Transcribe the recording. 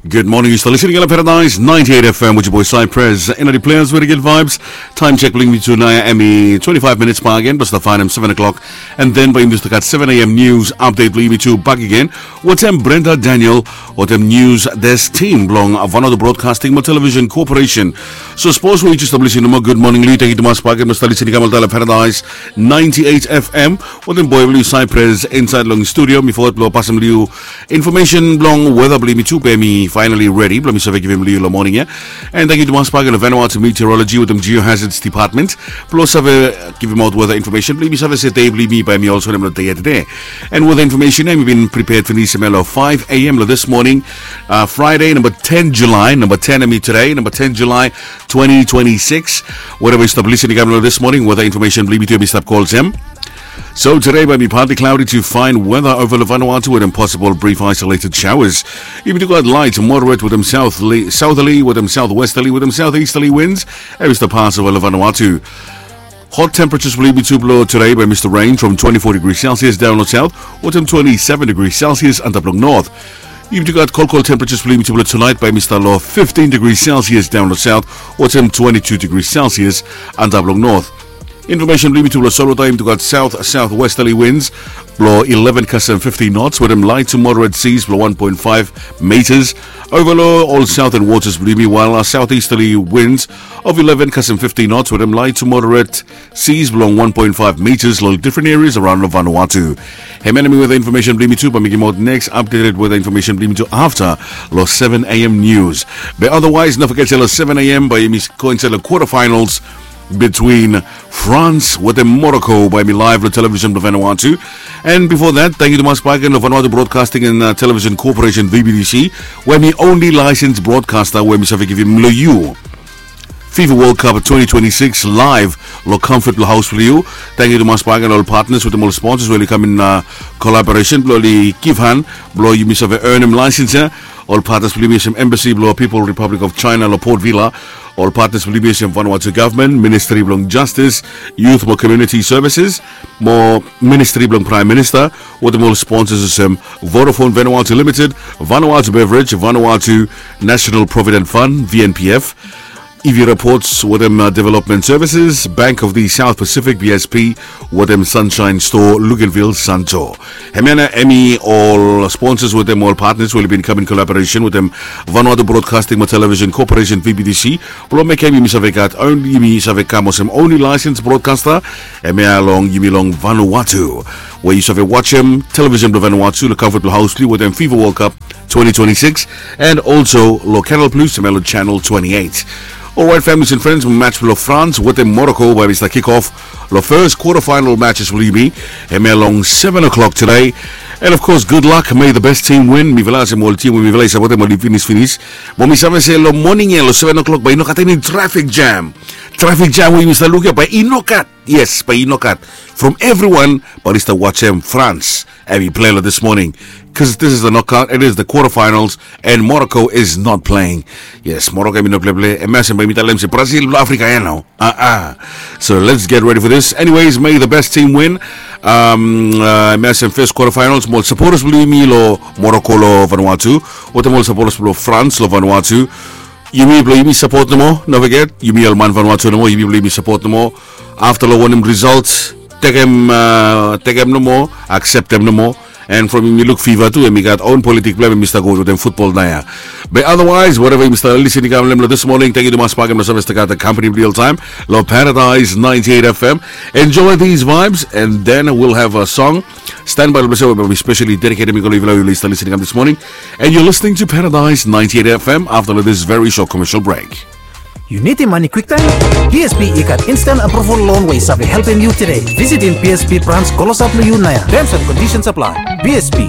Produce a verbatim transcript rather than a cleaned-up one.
Good morning, yu stap listening long Paradise ninety-eight F M with your boy Cypress. Ena di players with good vibes. Time check blo yumi tu nao hemi twenty-five minutes bakegen, blo stap faenem seven o'clock. And then blo yumi stap gat seven A M news update blo yumi tu bakegen wetem Brenda Daniel wetem news desk team blong Vanuatu Broadcasting mo Television Corporation. So sapos we yu just stap listening nomo, good morning long yu. Tangkiu tumas bakegen blo stap listening long Paradise ninety-eight F M wetem boy blo yu Cypress insaed long studio. Mi foget blo pasem long yu information blong weather blo yumi tu, be mi finally ready blo mi save givim long yu long moning ya. And tangkiu tumas bakegen long Vanuatu Meteorology wetem Geohazards Department blo save givimaot weather information blo yumi save se dei blo yumi bae hemi olsem wanem long dei ya tede. And weather information ya hemi bin prepared finis hemia long five A M long this morning, uh, Friday, namba ten July, namba ten hemi tede, namba ten July twenty twenty-six. Wherever yu stap listening long this morning, weather information blo yumi tu hemi stap go olsem. So today bae hemi partly cloudy to fine weather over long Vanuatu wetem possible brief isolated showers. Yumi tu gat light to moderate wetem southerly, southerly wetem southwesterly wetem southeasterly winds. Hemi stap pas over long Vanuatu. Hot temperatures blo yumi tu blo today bae hemi stap range from twenty-four degrees Celsius daon long south wetem twenty-seven degrees Celsius antap long north. Yumi tu gat kolkol temperatures blo yumi tu blo tonight bae hemi stap long fifteen degrees Celsius daon long south wetem twenty-two degrees Celsius antap long north. Information blo yumi tu blo solwota, yumi tu gat south southwesterly winds blo eleven kasem fifteen knots wetem light to moderate seas blo one point five meters over long ol southern waters blo yumi, while southeasterly winds of eleven kasem fifteen knots wetem light to moderate seas blong one point five meters long different areas around long Vanuatu. Hemia hemi weather information blo yumi tu, bae mi givimaot next updated weather information blo yumi tu afta long seven A M news. Be otherwise, no foget se long seven A M bae yumi go insaed long quarterfinals between France wetem Morocco bae hemi live long television blong Vanuatu. And before that, tangkiu tumas bakegen long Vanuatu Broadcasting and, uh, Television Corporation, V B T C, we hemi only licensed broadcaster we hemi save givim long yu FIFA World Cup twenty twenty-six live long comfort blong haos blong yu. Tangkiu tumas bakegen long ol partners wetem ol sponsors we oli kam in, uh, collaboration blong oli givhan blong yumi save earnem license ya. Ol partners blong yumi olsem Embassy blong People Republic of China long Port Vila. Ol partners blong yumi olsem Vanuatu Government, Ministry blong Justice, Youth mo Community Services mo Ministry blong Prime Minister, wetem ol sponsors olsem Vodafone Vanuatu Limited, Vanuatu Beverage, Vanuatu National Provident Fund, V N P F, E V Reports wetem, uh, Development Services, Bank of the South Pacific, B S P, wetem Sunshine Store, Luganville, Santo. Hemia hemi ol sponsors wetem ol partners we oli bin kam in collaboration wetem Vanuatu Broadcasting mo Television Corporation, V B T C, blong mekem yumi save gat, yumi save kam olsem only licensed broadcaster hemia long yumi long Vanuatu, we yu save wajem television blong Vanuatu long comfort blong haos blong yu wetem FIFA World Cup twenty twenty-six, and also long Canal Plus hemia long channel twenty-eight. Alright, families and friends, match blong France wetem Morocco bae hemi stap kick off long first quarterfinal matches blong yumi hemia long seven o'clock today. And of course, good luck, may the best team win. Mi vel olsem ol tim we mi vel i sapotem oli finis finis. Mo mi save se long moning ya long seven o'clock bae i no gat eni traffic jam. Traffic jam we yumi stap luk ya bae i no gat. Yes, bae i no gat. From everyone bae oli stap wajem France hemi play long this morning, 'cause this is the knockout, it is the quarterfinals, and Morocco is not playing. Yes, Morocco hemi no pleplei. Hemia olsem bae yumi talem se Brazil blong Africa ya nao. Uh-uh. So let's get ready for this. Anyways, may the best team win. Um, uh, hemia olsem first quarterfinals, mo ol supporters blong yumi long Morocco long Vanuatu wetem ol supporters blong France long Vanuatu. Yumi blong yumi sapot nomo, no foget, yumi ol man Vanuatu nomo, yumi blong yumi sapot nomo. Afta long wanem result, tekem, uh, tekem nomo, akseptem nomo. And from yumi luk FIFA tu, hemi gat own politik blong hem, hemi stap go wetem futbol nao ya. Be otherwise, wherever yumi stap listening long this morning, tangkiu tumas bakegen blong save stap gat the company blong yu oltaem long Paradise ninety-eight F M. Enjoy these vibes, and then we'll have a song. Standby long ples ya we bae mi specially dedicate hemi go long yufala we oli stap listening long this morning. And you're listening to Paradise ninety-eight F M afta long this very short commercial break. Yu nidim mane kwiktaem? B S B i gat instant approval loan we i save helpem yu tede. Visitim B S B branch klosap long yu naoia. Terms and conditions apply. B S B,